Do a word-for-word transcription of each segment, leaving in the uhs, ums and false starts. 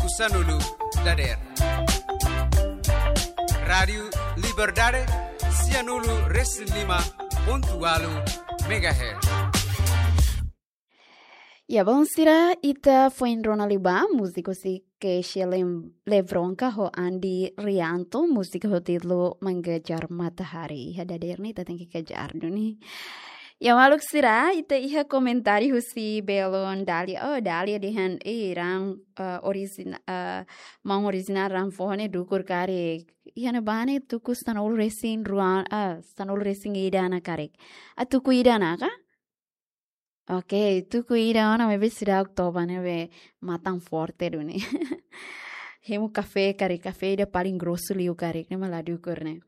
Sanulu dader. Rádiu Liberdade, sianulu resin lima pontu ualu megahertz. Ya, bom, sira, ita foin rona liubá múzika husi Keisha Lem-, Lebronca ho Andy Rianto, múzika ho títulu Mengejar Matahari. Iha dader ne'e ita tenke kejar duni. Ya, maluk sira, ita iha komentáriu husi belun Dalia. Oh, Dalia dehan, eh, ran, eh, orijina-, eh, maun orijinál ran foho ne'e dukur karik. Iha ne'ebá ne'e tuku sanulu resin rua, ah, sanulu resin ida ona karik. Ah, tuku ida ona ka? Oke, tuku ida ona maibé seidauk toba ne'ebé matan forte duni. Hemu kafé karik, kafé ida paling grosu liu karik, ne'e mak la dukur ne'e.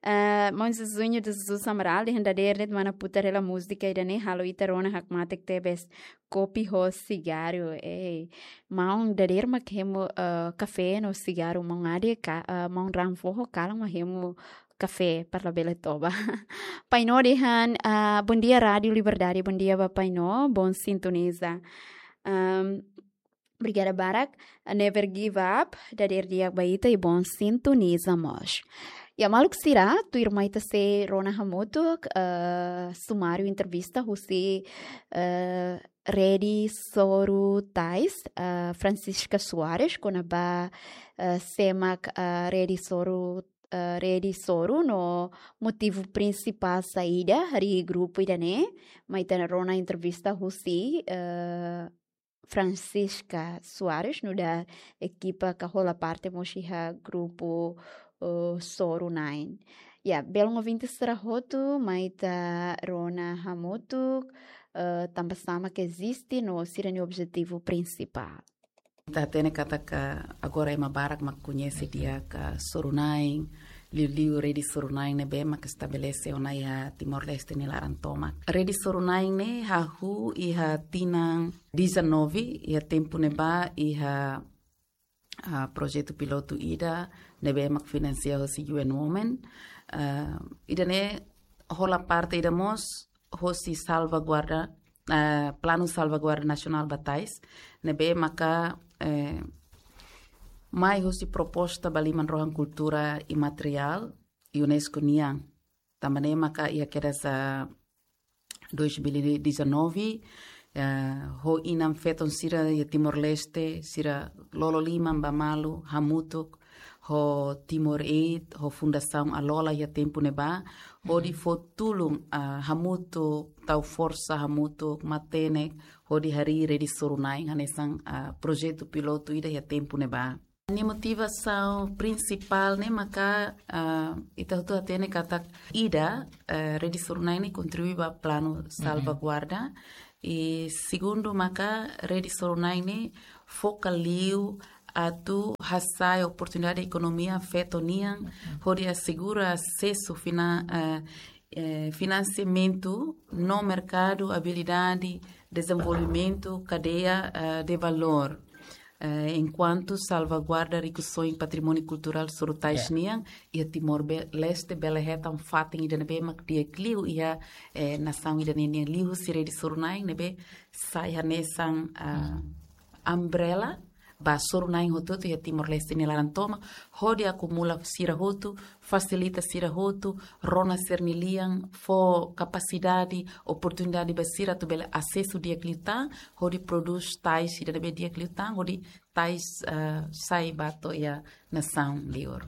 Eh, maun Zezuño de Jesus Amaral dehan dader de'it mana putar hela múzika ida-ne'e halo ita rona hakmatek tebes. Kopi ho sigarru, eh. Maun dader mak hemu, eh, kafé no sigarru, maun Ade ka, eh, maun ran foho kalan mak hemu kafé para labele toba. Painó dehan, ah, bom dia Rádiu Liberdade, bom dia ba Painó, bom sintoniza. Ahm, obrigada barak, never give up, dader di'ak ba ita i bom sintoniza mós. Ya, maluk sira, tuirmai ita sei rona hamutuk, eh, sumáriu entrevista husi, eh, Rede Soru Tais, eh, Francisca Soares, kona-ba, eh, sé mak, eh, Rede Soru, eh, Rede Soru no motivu prinsipál saida harii grupu ida-ne'e, mai ita rona entrevista husi, eh, Francisca Soares, nu'udar ekipa ka hola parte mós iha grupu, eh, Soru Nine. Ya, belun ouvinte sira hotu, mai ita rona hamutuk, eh, tanba sá mak eziste no sira-nia objetivu prinsipál. Ita hatene katak agora ema barak mak koñese di'ak Soru Nine, liuliu Rede Soru Nine ne'ebé mak estabelese ona iha Timor-Leste nia laran tomak. Rede Soru Nine ne'e hahú iha tinan dezanove, iha tempu ne'ebá iha, ah, projetu pilotu ida ne'ebé mak finansia hosi U N Women. Ah, ida-ne'e hola parte ida mós hosi salvaguarda, eh, Planu Salvaguarda Nasionál ba Tais, ne'ebé maka, eh, mai hosi proposta ba liman rohan kultura imateriál UNESCO nian. Tanba ne'e maka iha kedas dois mil e dezanove, eh, ho inan-feton sira iha Timor-Leste, sira lolo liman ba malu, hamutuk ho Timor Aid, ho Fundasaun Alola iha tempu ne'ebá, hodi fó tulun, ah, hamutuk, tau forsa hamutuk, matenek, hodi harii Rede Soru Nine hanesan, ah, projetu pilotu ida iha tempu ne'ebá. Nia motivasaun prinsipál ne'e maka, ah, ita hotu hatene katak ida, eh, Rede Soru Nine ne'e kontribui ba planu salvaguarda. I segundu maka Rede Soru Nine ne'e foka liu atu hasa'e oportunidade ekonomia feto nian, hodi asegura asesu fina-, eh, eh, finansiamentu no merkadu, abilidade, dezenvolvimentu, kadeia, eh, de valór. Eh, enkuantu salvaguarda rikusoin patrimóniu kulturál Soru Tais nian, iha Timor-Leste bele hetan fatin ida ne'ebé mak di'ak liu iha, eh, nasaun ida-ne'e nian, liuhusi Rede Soru Nine ne'ebé sai hanesan, ah, umbrella ba Soru Nine hotu-hotu iha Timor-Leste nia laran tomak, hodi akumula sira hotu, fasilita sira hotu, rona sira-nia lian, fó kapasidade, oportunidade ba sira atu bele asesu di'ak liután, hodi prodús tais ida ne'ebé di'ak liután, hodi tais, ah, sai ba to'o iha nasaun liur.